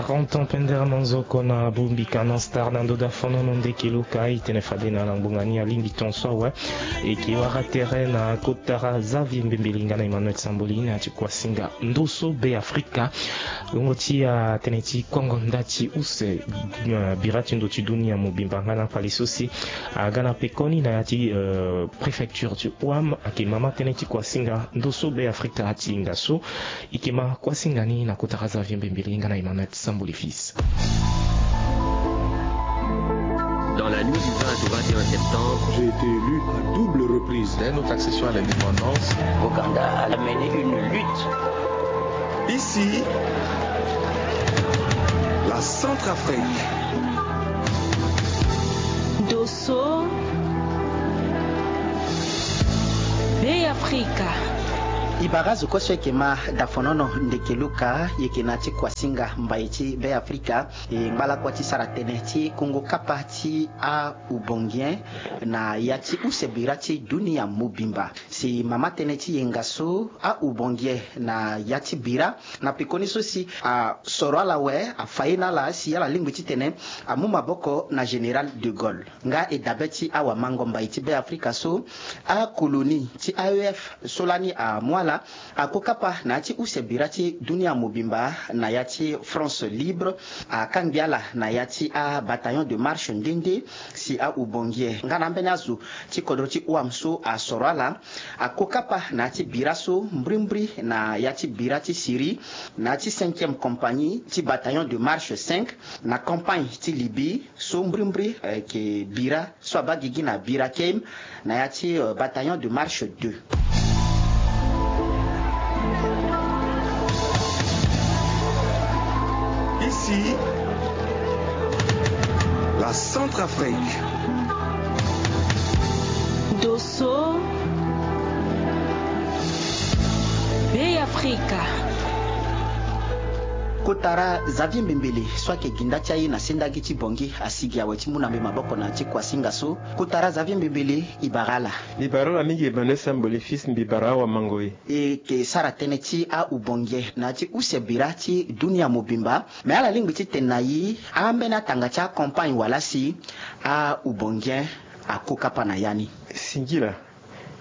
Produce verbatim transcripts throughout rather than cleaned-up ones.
Quarante ans pendere na nzoko na Bumbikana Star na ndoda fonono ndeke luka itene fade na langbonga ni alingbi ton so awe. Eke wara tere na kotara Xavier Mbembeli nga na Emmanuel Samboli na ti kuasinga ndoso Be Afrika. Longo ti atene ti kongo nda ti use, eh, bira ti ndo ti dunia mobimba nga na fali so si aga na pekoni na ya ti, eh, préfecture ti Ouam, ake mama tënë ti kuasinga ndoso Be Afrika ti hinga so. Ike ma kuasinga ni na kotara Xavier Mbembeli nga na Emmanuel Samboli fils. Dans la nuit du vingt au vingt et un septembre, j'ai été élu à double reprise. Dès notre accession à l'indépendance, Ouganda a mené une lutte. Ici, la Centrafrique. Dosso. Be Afrika. E bara azo kue so eke ma dafonono ndeke luka, e yeke na ya ti kuasinga mbai ti Be Afrika. E ngba lakua ti sara tënë ti kungu kapa ti aubongien na ya ti use bira ti dunia mobimba. Si mama tënë ti yenga so aubongien na ya ti bira na pekoni so si asoro ala awe, afa ye na ala si ala lingbi titene amu maboko na général de Gaulle. Nga e dabe ti awamango mbai ti Be Afrika so, akolonie ti A E F so lani amu ala, akokapa na ya ti use bira ti dunia mobimba na ya ti France libre, akangbi ala na ya ti abataillon de marche nde nde. Si aubongien nga na ambeni azo ti kodro ti Ouam so asoro ala, akokapa na ya ti bira so mbrimbri na ya ti bira ti Syrie, na ya ti cinquième compagnie ti bataillon de marche cinq, na campagne ti Libye so mbrimbri, eh, eke bira so abaa gigi na Birakeim na ya ti, euh, bataillon de marche deux. Ici, la Centrafrique. Dosso. Be Afrika. Kotara Xavier Mbembele so ayeke gi nda ti aye na sendagi ti Bangui asigi awe ti mu na mbi maboko na ya ti kuasinga so. Kotara Xavier Mbembele, e bara ala. Mbi bara ala mingi Emmanuel Samboli fils, mbi bara awamango e. E yeke sara tënë ti aubongien na ya ti use bira ti dunia mobimba. Me ala lingbi titene na e ambeni atanga ti acampagne wala si aubongien akokapa na ya ni. Singila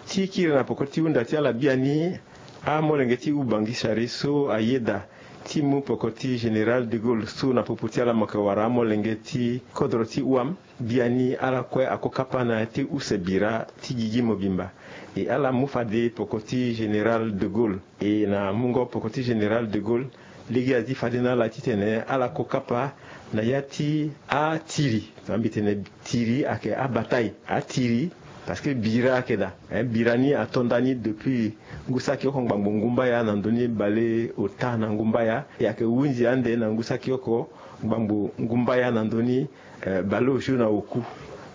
ti kiri na poko ti hunda ti ala biani, amolenge ti Oubangui Chari so ayeda ti mu poko ti général de Gaulle so na popo ti ala mo yeke wara amolenge ti kodro ti Ouam. Biani ala kue akokapa na ya ti use bira ti gigi mobimba. E ala mu fade poko ti général de Gaulle. E na mungo poko ti général de Gaulle, lege azi fade na ala titene ala kokapa na ya ti atiri. Mbi tene tiri ayeke abataille. Atiri, parce que bira ayeke daa. Eh, bira ni ato nda ni depuis ngu saki oko ngbangbo ngumbaya na ndö ni bale ota na ngumbaya. E ayeke hunzi ande na ngu saki oko ngbangbo ngumbaya na ndö ni, eh, bale osio na oku.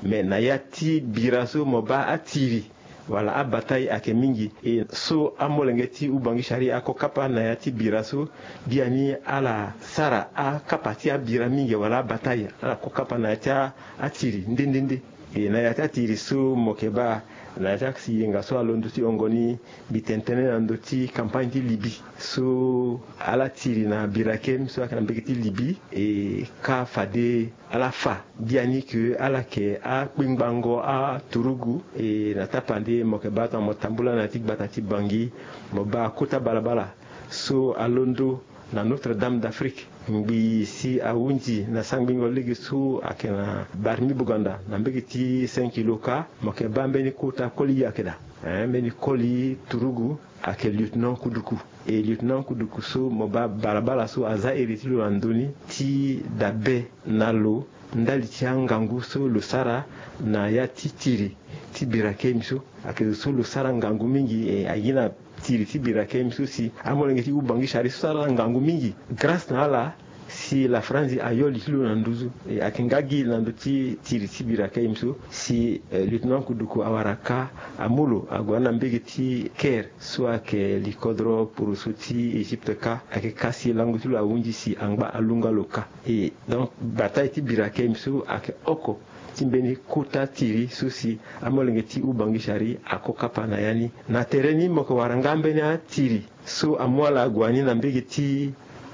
Mais na ya ti bira so mo baa atiri wala abataille ayeke mingi. E so amolenge ti Oubangui Chari akokapa na ya ti bira so, biani ala sara akapa ti abira mingi wala abataille, ala kokapa na ya ti a, atiri nde nde nde. E na ya ti atiri so mo yeke baa, na ya ti asi yenga so alondo ti hongo ni, mbi tene tënë na ndö ti campagne ti Libye so ala tiri na Birakeim so ayeke na mbege ti Libye, e ka fade ala fa biani ke ala yeke akpengbango aturugu. E na tapande mo yeke baa tongana mo tambula na ya ti gbata ti Bangui, mo baa kota balabala so alondo na Notre-Dame d'Afrique. Ngbii si ahunzi na sangbingo lege so ayeke na Barmi Bouganda na mbege ti cinq kilo ka, mo yeke baa mbeni kota koli ayeke daa. Eh, mbeni koli turugu ayeke lieutenant Kuduku. E lieutenant Kuduku so mo baa balabala so aza iri ti lo na ndö ni ti dabe na lo ndali ti angangu so lo sara na ya ti tiri ti Birakeim so. Ayeke zo so lo sara ngangu mingi, e aye na tiri ti Birakeim so si amolenge ti Oubangui Chari so sara ngangu mingi. Grâce na ala si la Franzi ayo li ti lo na nduzu. E ayeke nga gi na ndö ti tiri ti Birakeim so si, eh, lieutenant Kuduku awara ka amu lo ague na mbege ti Caire so ayeke li kodro poroso ti Égypte ka. Ayeke ka si lango ti lo ahunzi si angba alunga lo ka. E donc bataille ti Birakeim so ayeke oko ti mbeni kota tiri so si amolenge ti Oubangui Chari ako kapa na ya ni. Na tere ni mo yeke wara nga mbeni atiri so amu ala ague ni na mbege ti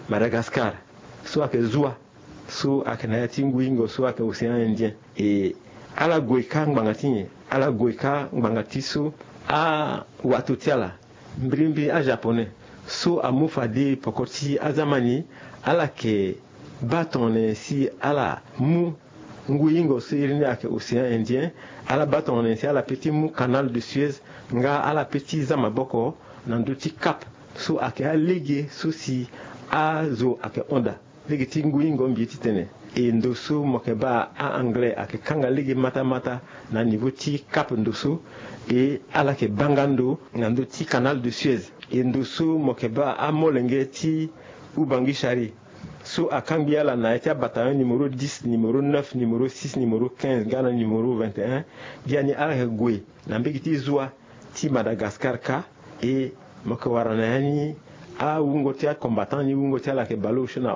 Madagascar. so ayeke zua, so ayeke na ya ti ngu-ingo so ayeke Océan Indien. E ala gue kâ ngbanga ti nyen? Ala gue kâ ngbanga ti so awato ti ala, mbirimbiri ajaponais, so amu fade poko ti aza ma ni, ala yeke baa tongana nyen si ala mu ngu-ingo so iri ni ayeke Océan Indien. Ala baa tongana nyen si ala pe ti mu Canal de Suez nga ala pe ti za maboko na ndö ti Cap, so ayeke alege so si azo ayeke hon daa lege ti ngu-ingo mbi ye ti tene. E ndo so mo yeke baa a-anglais ayeke kanga lege matamata na niveau ti Cap ndo so. E ala yeke baa nga ndo na ndö ti Canal de Suez. E ndo so mo yeke baa amolenge ti Ubangui Chari, so akangbi ala na ya ti abataillon numéro dix, numéro neuf, numéro six, numéro quinze nga na numéro vingt et un. Biani ala yeke gue na mbege ti zua ti Madagascar kâ. E mo yeke wara na ya ni awungo ti acombattant ni, wungo ti ala ayeke bale osio na